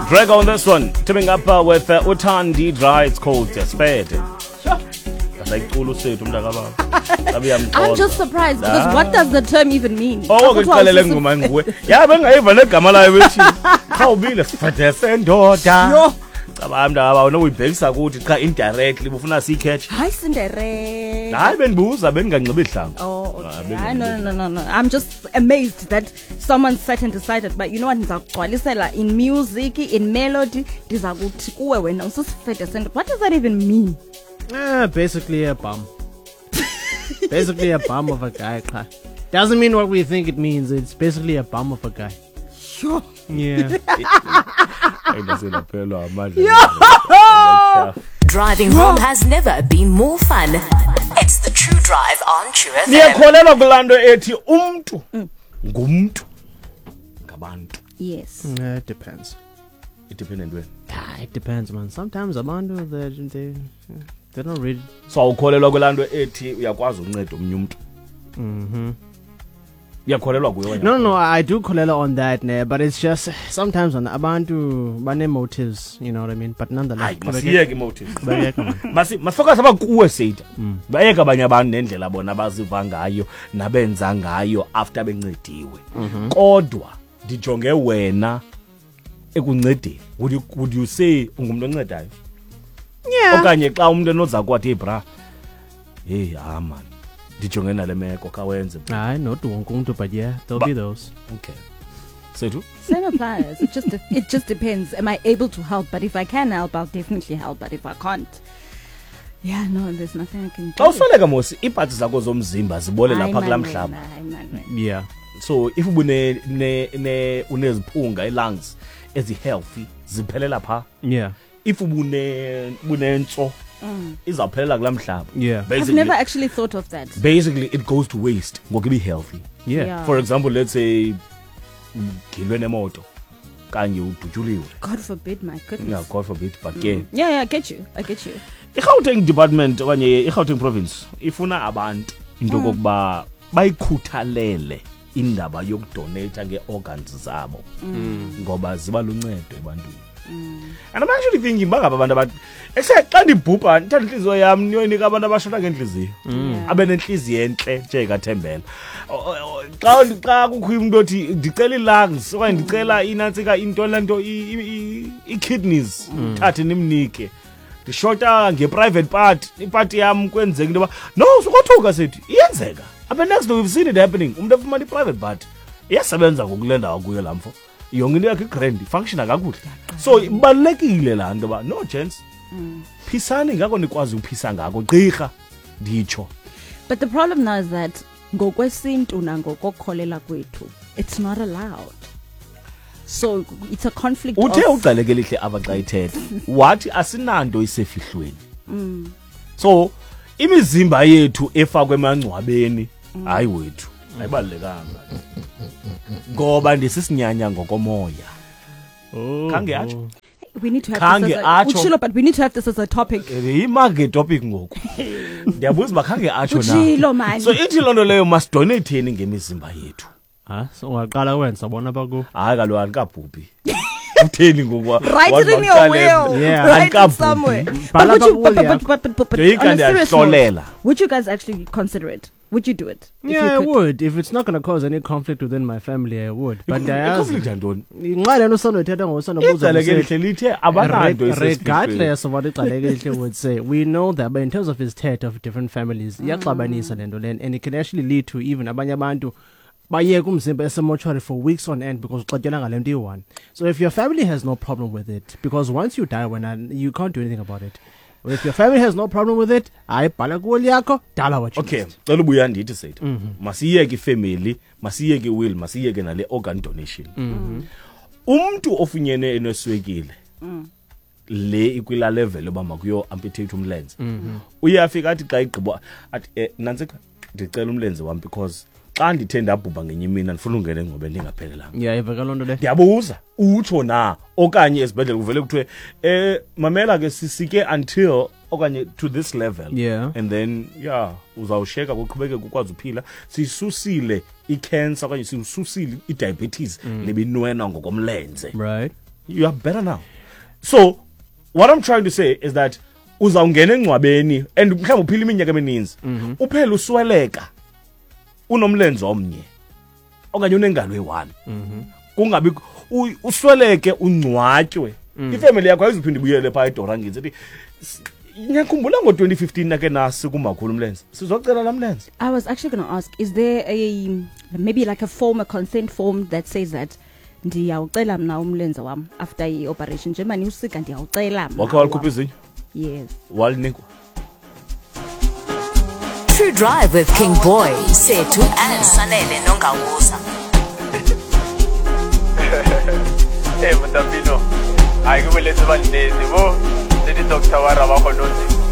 Drago on this one, teaming up with Utandi Dry. It's called Spade. Asayicula usethu umntakababa. I'm just surprised because what does the term even mean? Oh, ke qalele ngoma nguwe. Ya bengayiva negama layo bethi. Qha ubile sifede sendoda. Yho. Cabanga mntakababa unokuyibhekisa kuthi qha indirectly bufuna siyikhethe. Hayi Cinderella. Hayi bendibuza bendinganxibi ihlangu. Oh, Ah, okay. benginganxibi Hayi, no. I'm just amazed that someone sat and decided, but you know what, ndizakugcwalisela in music, in melody, ndiza kuthi kuwe wena usisifede sendoda. What does that even mean? Basically a bum. Basically a bum of a guy. Qha. Doesn't mean what we think it means. It's basically a bum of a guy. Sure. Yeah. Hayi ndasendaphelelwa amandla. Driving home has never been more fun. It's the True Drive on True FM. Niyakholelwa kulaa nto ethi umntu ngumntu ngabantu. Yes. Yeah, it depends. Idepende ntweni? Ah, it depends, man. Sometimes abantu they don't really. So awukholelwa kulaa nto ethi uyakwazi unceda omnye umntu? Uyakholelwa kuyo wena? No, I do kholelwa on that, ne, but it's just sometimes on abantu bane motives, you know what I mean? But nonetheless, Hayi, masiyeke imotives. qhubekeka, man. Masifocus apha kuwe Seyida. Bayeke abanye abantu nendlela bona abaziva ngayo nabenza ngayo after bencediwe. Kodwa ndijonge wena ekuncedeni. Would you say ungumntu oncedayo? Yeah. Okanye xa umuntu enoza kwathi, hey bra, hey ha man, ndijonge nale meko khawenze. Hayi, not wonke umuntu, but yeah, there'll be those. Okay. Sethu? Same applies. It just depends. Am I able to help? But if I can help, I'll definitely help. But if I can't, yeah, no, there's nothing I can do. Xa usweleka mosi, iipatsi zakho zomzimba zibole Hayi, lapha kulaa man, mhlaba. wena, hayi, man, wena. Yeah. So if uneziphunga, ii-lungs ezi-healthy ziphelela phaa. Yeah. If ubunentso izawuphelela kulaa mhlaba. Yeah. I've Basically, never actually thought of that. basically it goes to waste ngoku ibi-healthy. Yeah. Yeah. For example, let's say ugilwe nemoto kanye udutyuliwe. God forbid, my goodness. Yeah, God forbid, but ke Yeah, I get you. I get you. iGauteng department okanye iGauteng province ifuna abantu into okokuba bayikhuthalele indaba yokudonata ngee-organs zabo ngoba ziba luncedo ebantwini. And I'm actually thinking bangaba abantu abathi ehle xa ndibhubha ndithatha intliziyo yam niyoyinika abantu abashota ngentliziyo, abe nentliziyo entle njengekaThembela. Xa kukho umntu othi ndicela ii-lungs okanye ndicela inantsika into laa nto ii-kidneys, thathe nimnike. Ndishota nge-private part, ipati yam kwenzeka into yoba no sukothuka sithi iyenzeka. Apha next we've seen it happening. Umntu efumana i-private part iyasebenza ngoku kule ndawo kuyo laa mfo, yonke into yakhe igrand, ifunctiona kakuhle. So ibalulekile laa nto yoba no gents, phisani ngako nikwazi uphisa ngako gqirha nditsho. But the problem now is that ngokwesintu nangokokholela kwethu, it's not allowed. So it's a conflict. Uthe of ugcaleke elihle apha xa ithetha wathi asinanto isefihlweni. So imizimba yethu efakwe emangcwabeni, hayi wethu, ayibalulekanga ngoba ndisisinyanya ngokomoya. Oh. Khange atsho. We need to have Khange this as a, atsho. Utshilo, but we need to have this as a topic. Yima ngetopic ngoku. Ndiyabuza uba khange atsho na. Utshilo, man. So ithi loo nto leyo masidoneyitheni ngemizimba yethu. Ah, so ungaqala wenza bona baku. Hayi kaloku andikabhubhi. Utheni ngoku? Write it in your will. Yeah. Write it Andikabhubhi. somewhere. But Bhala would you, apha kuwo but Ndoyika on a serious note, ndiyahlolela. would you guys actually consider it? Would you do it? If Yeah, you I could? would. If it's not going to cause any conflict within my family, I would. But ndiyayazi. Iconflict yantoni? Nxa le nto usanoyithetha ngoku Igcaleke elihle lithe abananto isefihlweni. Regardless of what igcaleke elihle would say, we know that, but in terms of his thetha of different families, iyaxabanisa le nto lena, and it can actually lead to even abanye abantu bayeke umzimba esemortuary for weeks on end because uxatyelwa ngale nto iyi-one. So if your family has no problem with it, because once you die wena you can't do anything about it. If your family has no problem with it, hayi bhala kuwoli yakho, dala what you Okay, must. cela ubuya ndithi sethu. Masiyeke ifamily, masiyeke iwill, masiyeke nale organ donation. Umntu ofunyene eneswekile le ikwila level yoba makuyo amputate umlenze. Uyafika athi xa igqiba athi nantsika ndicela umlenze wam because xa ndithe ndabhubha ngenye imini andifuna ungena engcwabeni ndingaphelelanga. Yeah, ivakala loo nto le. Ndiyabuza, utsho na okanye esibhedlele kuvele kuthiwe mamela ke sisike until okanye to this level. Yeah. And then yeah, uzawusheka kuqhubeke kukwazi uphila. Sisusile icancer okanye sisusile idiabetes lebinwena ngokomlenze. Right. You are better now. So what I'm trying to say is that uzawungena engcwabeni and mhlawumbi uphila iminyaka emininzi, uphele usweleka unomlenze omnye okanye unengalo eyi-one, kungabi usweleke ungcwatywe, ifemeli yakho ayizuphinde ibuyele phaa eDorangids ethi, "Niyakhumbula ngo-2015 nake nasi kumakhulu umlenze, sizocela laa mlenze." I was actually going to ask, is there a maybe like a form, a consent form that says that ndiyawucela mna umlenze wam after i-operation, njengoba niwusika, ndiyawucela mna Wakhe walikhupha wam. izinyo? Yes. Walinikwa? True Drive with King Boy, Sethu and Sanele Nongawuza. Ee, motapino, a ke boletse ba nnete bo le di-doctor wa ra ba kgonotse.